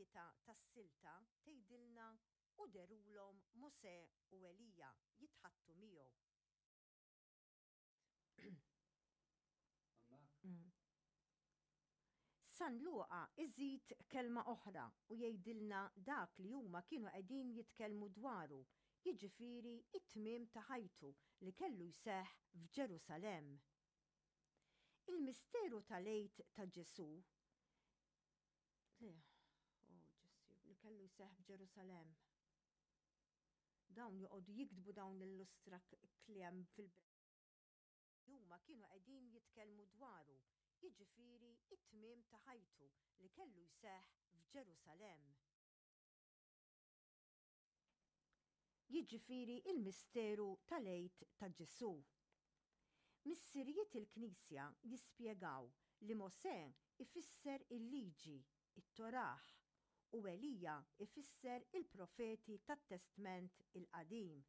tlieta tas-silta tgħidilna u dherulhom Mosè u Elija jitħaddtu miegħu. San Luqa iżid kelma oħra u jgħidilna dak li huma kienu qegħdin jitkellmu dwaru, jiġifieri t-tmiem ta' ħajtu li kellu jseħħ f'Ġerusalemm. Il-misteru tal-Għid ta' Ġesù li, oh Ġesù, li kellu jseħħ f'Ġerusalemm. Dawn joqogħdu jiktbu dawn l-illustra kliem fil huma kienu qegħdin jitkellmu dwaru, jiġifieri t-tmiem ta' ħajtu li kellu jseħħ f'Ġerusalemm. Jiġifieri l-misteru tal-Għid ta' Ġesù. Missirijiet il-Knisja jispjegaw li Mosè ifisser il-Liġi, it-Torah, u Elija ifisser il-profeti tat-Testment il-Qadim.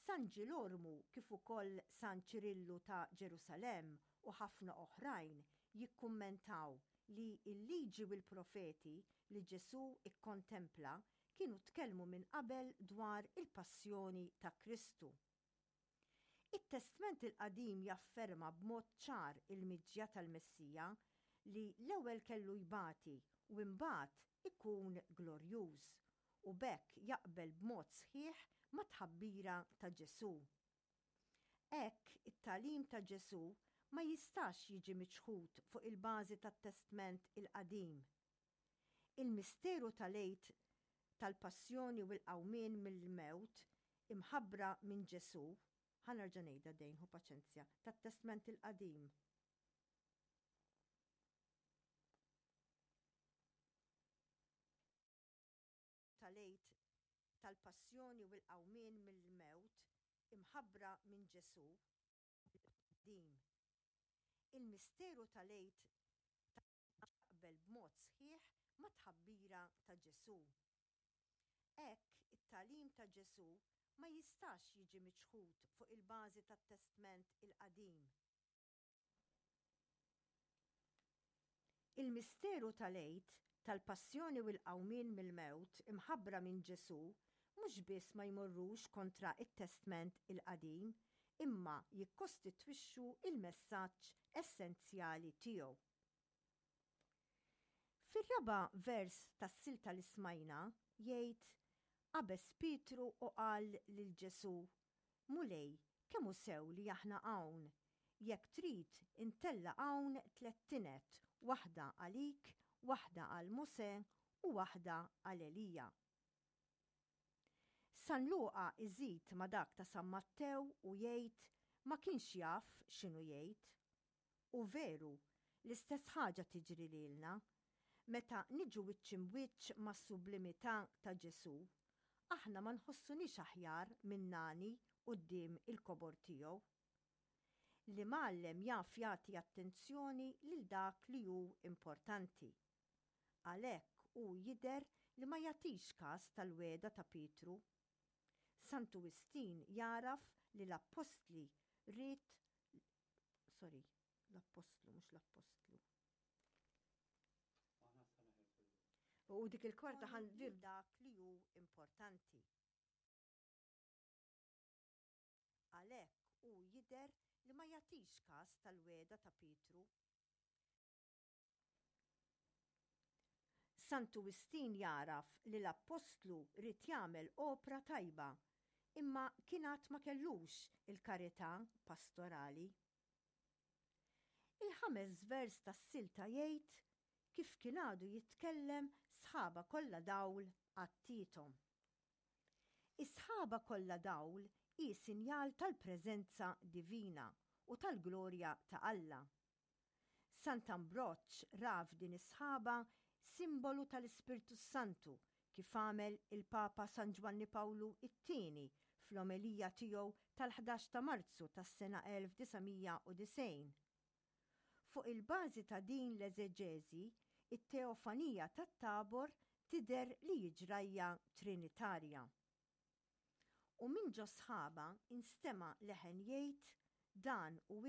San Ġilormu kif ukoll San Ċirillu ta' Ġerusalemm u ħafna oħrajn jikkummentaw li l-Liġi u l-Profeti li Ġesù kkontempla kienu tkellmu minn qabel dwar il-passjoni ta' Kristu. It-Testment il-Qadim jafferma b'mod ċar il-miġja tal-Messija li l-ewwel kellu jbati u imbagħad ikun glorjuż, u b'hekk jaqbel b'mod sħiħ mat-tħabbira ta' Ġesù. Hekk, it-tagħlim ta' Ġesù ma jistax jiġi miċħud fuq il-bażi tat-Testment il-Qadim. Il-misteru tal-Għid tal-Passjoni u l-Qawmien mill-Mewt imħabbra minn Ġesù, ħa nerġa' ngħidha dejn, ħu paċenzja, tat-Testment il-Qadim. Tal-Għid tal-Passjoni u l-Qawmien mill-Mewt imħabbra minn Ġesù, il-Qadim. Il-misteru tal-Għid jaqbel b'mod sħiħ mat-tħabbira ta' Ġesù. Hekk, it-tagħlim ta' Ġesù ma jistax jiġi miċħud fuq il-bażi tat-Testment il-Qadim. Il-misteru tal-Għid, tal-Passjoni u l-Qawmien mill-Mewt imħabbra minn Ġesù mhux biss ma jmorrux kontra t-Testment il-Qadim, imma jikkostitwixxu l-messaġġ essenzjali tiegħu. Fir-raba' vers tas-silta li smajna jgħid, Qabeż Pietru u qal lil Ġesù, Mulej, kemm hu sew li aħna hawn! Jekk trid, intella' hawn tlett tined, waħda għalik, waħda għal Mosè u waħda għal Elija. San Luqa iżid ma' dak ta' San Mattew u jgħid ma kienx jaf x'inhu jgħid. U veru, l-istess ħaġa tiġri lilna. Meta niġu wiċċ imbwiċċ mas-sublimità ta' Ġesù, aħna ma nħossuniex aħjar min-nani quddiem il-kobor tiegħu. L-imgħallem jaf jagħti attenzjoni lil dak li hu importanti. Għalhekk hu jidher li ma jagħtix kas tal-wegħda ta' Pietru. Santu Wistin jagħraf li l-appostli ried sorry, l-appostlu mhux l-appostlu. U dik il-kwarta ħan dak li hu importanti. Għalhekk hu jidher li ma jagħtix kas tal-wegħda ta' Pietru. Santu Wistin jagħraf li l-appostlu ried jagħmel opra tajba, imma kien għad ma kellux il-karità pastorali. Il-ħames vers tas-silta jgħid kif kien għadu jitkellem sħaba kollha dawl għattiethom. Is-sħaba kollha dawl hi sinjal tal-preżenza divina u tal-glorja ta' Alla. Sant'Ambroġ ra f'din is-sħaba simbolu tal-Ispirtu s-Santu kif għamel il-Papa San Ġwanni Pawlu t-Tieni fl-omelija tiegħu tal-ħdax ta' Marzu tas-sena 1990. Fuq il-bażi ta' din l-eżeġeżi, it-teofanija tat-Tabor tidher li hi ġrajja Trinitarja. U minn ġos-sħaba nstema' leħen jgħid, Dan hu.